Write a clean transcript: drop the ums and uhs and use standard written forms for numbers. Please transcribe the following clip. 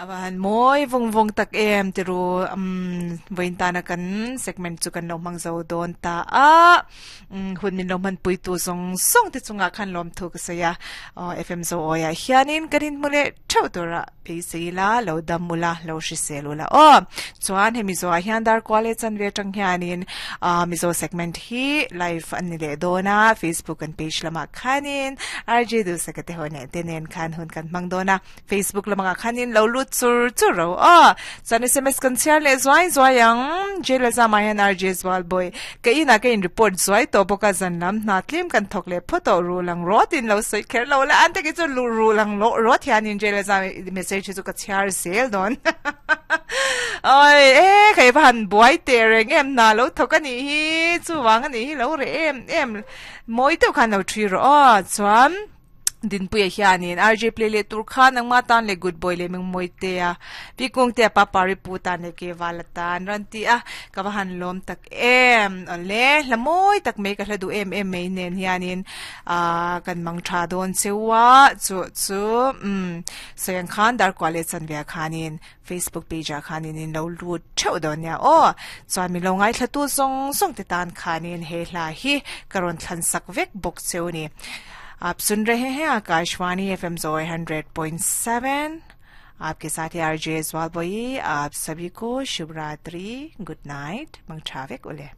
Ava han mawi vawng vawng tak em tiru umm vawiin tana kan segment chu kan lo hmang zo dawn ta a umm hun min lo hmanpui tu zawng zawng te chungah khan lawmthu ka sawi a aw FM Zoawi ah hianin kan inhmu leh theuh tura beisei ila lo dam ula lo hrisel ula aw chuan hemi zawhah hian dar kual leh chanve atang hianin ah Mizo segment hi live a ni leh dawn a Facebook kan page lamah khanin RJ Duhsaka te ho nen te nen khan hun kan hmang dawn a. Facebook lamangah khanin lo lut chur chur ro aw. Chuan SMS kan chhiar leh zuai zuai ang. Jail a zamah hian RJ Zualbawi ka inah ka in report zuai tawh bawk a, zan lam hna tlem kan thawk leh phawt tawh ru lang rawt in lo sawi kher lo la, an te khi chu lu ru lang loh rawt hianin jail a zam message hi chu ka chhiar zel dawn. Oi e kei va han buai teh reng em hna lo thawk a nih hi chuvang a nih hi lo reh em em mawi deuh khan lo thi rawh aw chuan. Dinpuia hianin RJ play leh tur khan nangma tan leh good boy leh mengmawi te a Pi Kungtea pa Pari pu tan leh ke vala tan rawn ti a ka va han lawm tak em awle hla mawi tak mai ka hla duh em em mai nen hianin ah kan mang tha dawn cheu a chu chu umm sawi ang khan darkua leh chanve ah khanin Facebook page ah khanin in lo lut theuh dawn nia aw chuan min lo ngaithla tu zawng zawng te tan khanin he hla hi ka rawn thlan sak vek bawk cheu a ni. आप सुन रहे हैं Akashvani F M जोए 100.7 आपके साथ है आरजे ज्वाल बोई आप सभी को शुभ रात्रि गुड नाइट मंगछावेक उले।